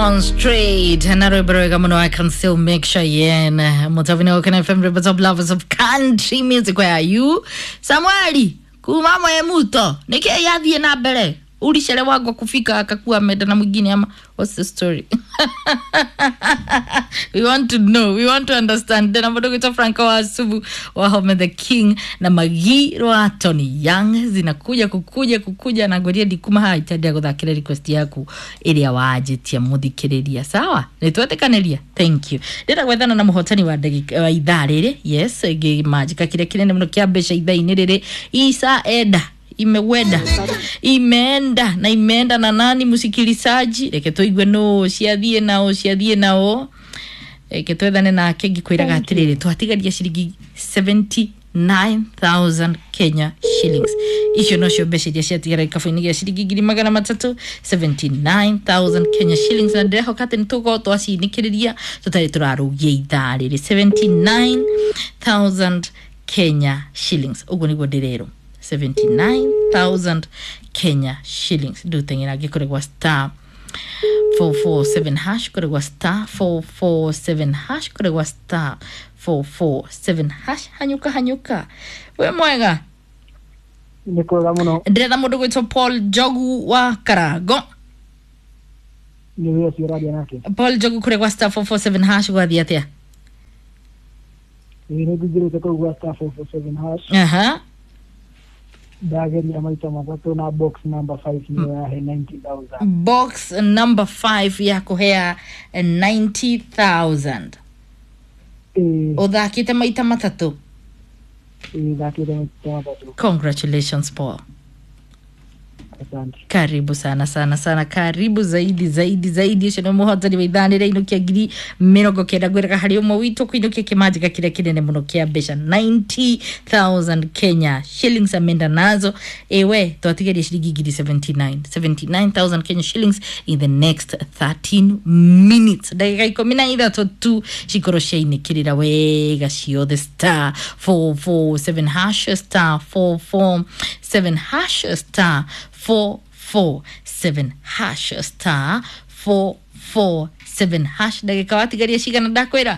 Demonstrate na rwimbo rwega muno. I can still make Cheyenne mutavini wa Kena FM, rivers of lovers of country music. Where are you, Samueli? Kuma mwe muto niki yathie na mbere ulichelewagwa kufika akakuwa meda na mwingine ama what's the story? We want to know, we want to understand. Tena mũndũ Franco wa Subu wa Home the King na Magi rwa Tony Young zinakuja kukuja kukuja na ngoria ndikuma haha itadia guthakira request yaku iria wanjitia muthikiriria. Sawa, nitwetĩkanĩria. Thank you. Ndĩrenda gwethana na mũhotani wa ndagĩka wa ithaa rĩrĩ. Yes, ngĩmanjĩka kĩrĩa kĩnene mũno kĩa mbeca ithaa-inĩ rĩrĩ. Isa enda imewenda imeenda na imeenda na nani musikilizaji, reke tuigue no ciathiĩ nao ciathiĩ nao, reke twethane nake. Ngikwĩraga atĩrĩrĩ, twatigaria ciringi 79,000 Kenya shillings. Icio nocio mbeca iria ciatigara gĩkabũ-inĩ gĩa ciringi 300,000, 79,000 Kenya shillings, na ndĩrehoka atĩ nĩ tũgũkorwo twaciinĩkĩrĩria tũtarĩ tũrarũgia ithaa rĩrĩ. 79,000 Kenya shillings, ũguo nĩguo ndĩrerwo. 79,000 Kenya shillings. Nduteng'era ngĩkoragwa star 447 hash, koragwa star 447 hash, koragwa star 447 hash. Hanyuka hanyuka, we mwega. Nä kwega må no. Ndĩretha mũndũ gwĩtwo Paul Njogu wa Karango. Nä wä å cio å raria nake. Paul Njogu, kũrĩ star 447 hash gwathiĩ atĩa? Ä nä ngingä rä te kå u gwa star 447 hash. Aha. Ndageria maita matatå na box number 5 nä yahe 90,000. Box number 5 ya kũhea 90,000? Ä. Ũthakĩte maita matatũ? Ä thakä te maita matatå. Congratulations, Paul. Asante. Karibu sana sana sana, karibu zaidi zaidi zaidi. Ũcio nĩ mũhotani wa ithanĩra inũkia 90,000. Ngwĩraga harĩ ũmwe witũ kũinũkia kĩmanjĩka kĩrĩa kĩnene mũno kĩa mbeca, 90,000 Kenya shillings amenda nazo. Ewe twatigeria ciringi ngiri 79, 79,000 Kenya shillings in the next 13 minutes, ndagĩka 13 tu cikorwo ciainĩkĩrĩra wega ciothe. Star 447 hash, star 447 hash, star 447 hash, star 447 hash. Ndagĩka watigaria cigana? Ndakwĩra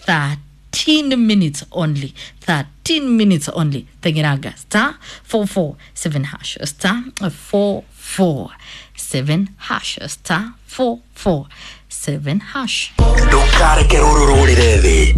13 minutes only, 13 minutes only. Teng'eranga star 447 hash, star 447 hash, star 447 hash. Ndũkareke rũrũ rũrĩre thĩ.